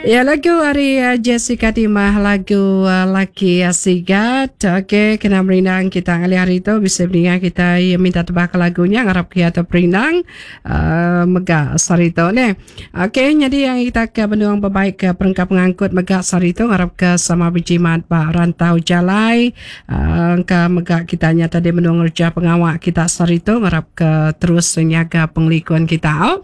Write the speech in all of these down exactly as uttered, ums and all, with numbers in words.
Ya, lagu ari uh, Jessica Timah, lagu uh, Laki Sigat. Okey, kena merindang kita ngalih hari tu bisa mendengar kita ya, minta tebak lagunya ngarap kita perindang uh, mega sari tu ni. Okey, jadi yang kita ke benung berbaik ke perengka pengangkut mega sari tu ngarap ke sama berjimat ba rantau jalai uh, ke mega kita nya tadi benung ngerja pengawak kita sari tu ngarap ke terus nyaga pengelikun kita.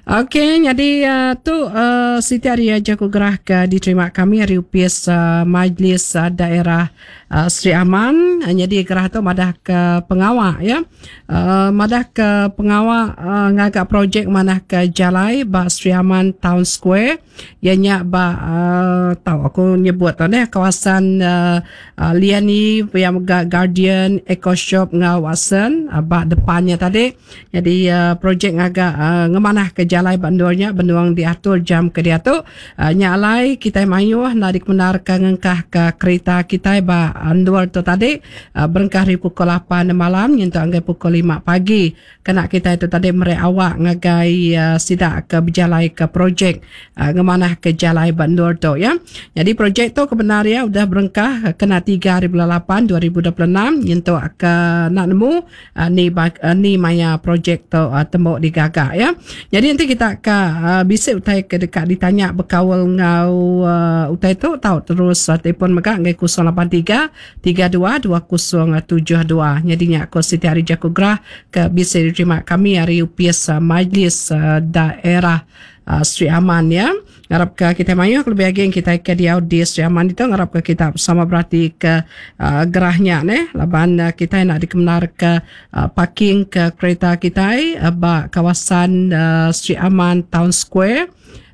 Okey, jadi uh, tu uh, siti hari aja ku gerah ke diterima kami hari upis uh, Majlis uh, Daerah uh, Sri Aman. Uh, jadi gerah tu madah ke pengawak ya. Uh, madah ke pengawak uh, ngagak projek manah ke jalai ba Sri Aman Town Square. Ya nya ba uh, tahu aku nyebut tu ne kawasan uh, uh, Liani yang Guardian Eco Shop ngau Watson uh, ba depannya tadi. Jadi uh, projek ngagak uh, ngemanah ke jalai bandurnya benduang diatur jam ke diatu. Uh, nya alai kita mayuh nak dikemenarkan ngengkah ke kereta kita ba andur tu tadi uh, berengkah hari pukul lapan malam nyentuk anggai pukul lima pagi. Kena kita itu tadi merek awak ngagai uh, sidak ke berjalai ke projek uh, ngemanah ke jalai bandur tu ya. Jadi projek tu kebenar ya udah berengkah kena tiga hari bulan lapan dua ribu dua puluh enam nyentuk ke nak nemu uh, ni uh, ni maya projek tu uh, tembok digagak ya. Jadi nanti kita ke uh, bisik utai ke dekat ditanya berkawal ngau uh, utai tu tahu terus uh, telefon mega ngai kosong lapan tiga tiga dua dua kosong tujuh dua. Jadi nya aku Siti Hari Jaku Gerah ke bisa diterima kami hari U P S uh, Majlis uh, Daerah uh, Sri Aman ya. Ngarap ke kita mayu lebih lagi kita ke diau di Sri Aman itu ngarap ke kita sama berarti ke uh, gerahnya ne laban uh, kita nak dikemenar ke uh, parking ke kereta kita uh, ba kawasan uh, Sri Aman Town Square.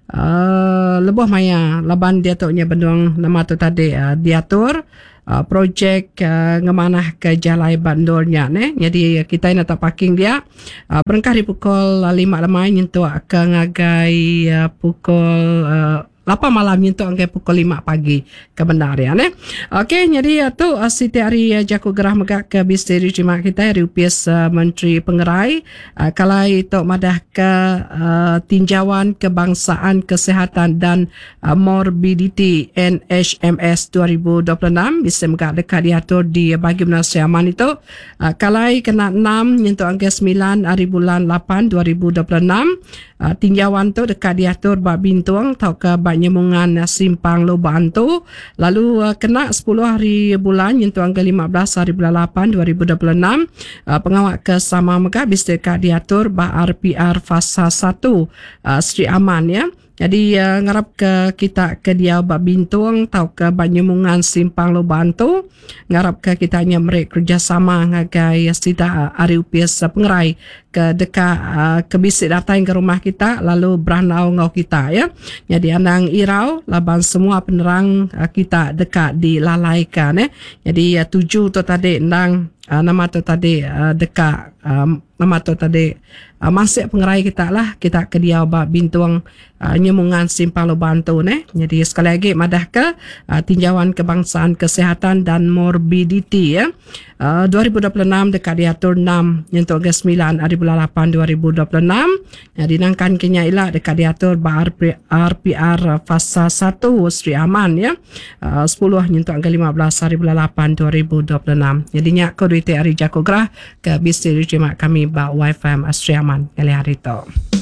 Uh, lebuh maya laban dia tu nya bendung nama tu tadi uh, diatur uh, projek uh, ngemanah ke jalai bandurnya ne. Jadi kita nak tak parking dia uh, berengkah di pukul lima lemai nyentuk ke ngagai uh, pukul uh, lapan malam nyentuk angkai pukul lima pagi kebenar ya ne. Okey, jadi tu uh, Siti Hari uh, Jaku Gerah mega ke bisteri terima kita hari U P S uh, Menteri Pengerai uh, kalai tok madah ke uh, tinjauan kebangsaan kesihatan dan uh, morbiditi N H M S dua ribu dua puluh enam bisa mega dekat diatur di bagi Menara Sri Aman itu uh, kalai kena enam nyentuk angkai sembilan hari bulan lapan dua ribu dua puluh enam uh, tinjauan tu dekat diatur bak Bintung atau ke bak Nyemungan Simpang Lubang tu lalu uh, kena sepuluh hari bulan nyentuh angka lima belas hari bulan lapan dua ribu dua puluh enam uh, pengawak ke sama mega bisa dekat diatur bak R P R fasa satu uh, Sri Aman ya. Jadi uh, ngarap ke kita ke dia bak Bintung atau ke bak Nyemungan Simpang Lubang tu ngarap ke kita nya merek kerjasama ngagai sida ari U P S Pengerai ke dekat uh, ke bisik datang ke rumah kita lalu beranau ngau kita ya. Jadi anang irau laban semua penerang uh, kita dekat dilalaikan eh. Jadi uh, tuju tu tadi ndang uh, nama tu tadi uh, dekat um, nama tu tadi uh, masuk pengerai kita lah kita ke dia bak Bintung uh, Nyemungan Simpang Lubang tu ne. Jadi sekali lagi madah ke uh, tinjauan kebangsaan kesihatan dan morbiditi ya. Uh, dua ribu dua puluh enam dekat diatur enam nyentuk ke sembilan hari bulan lapan dua ribu dua puluh enam. Jadi nangkan kenya ila dekat diatur bak R P R fasa satu Sri Aman ya. Uh, sepuluh nyentuk ke lima belas hari bulan lapan dua ribu dua puluh enam. Jadi nyak ko duit hari Jaku Gerah ke bisi terima kami bak Y F M Sri Aman kali hari tu.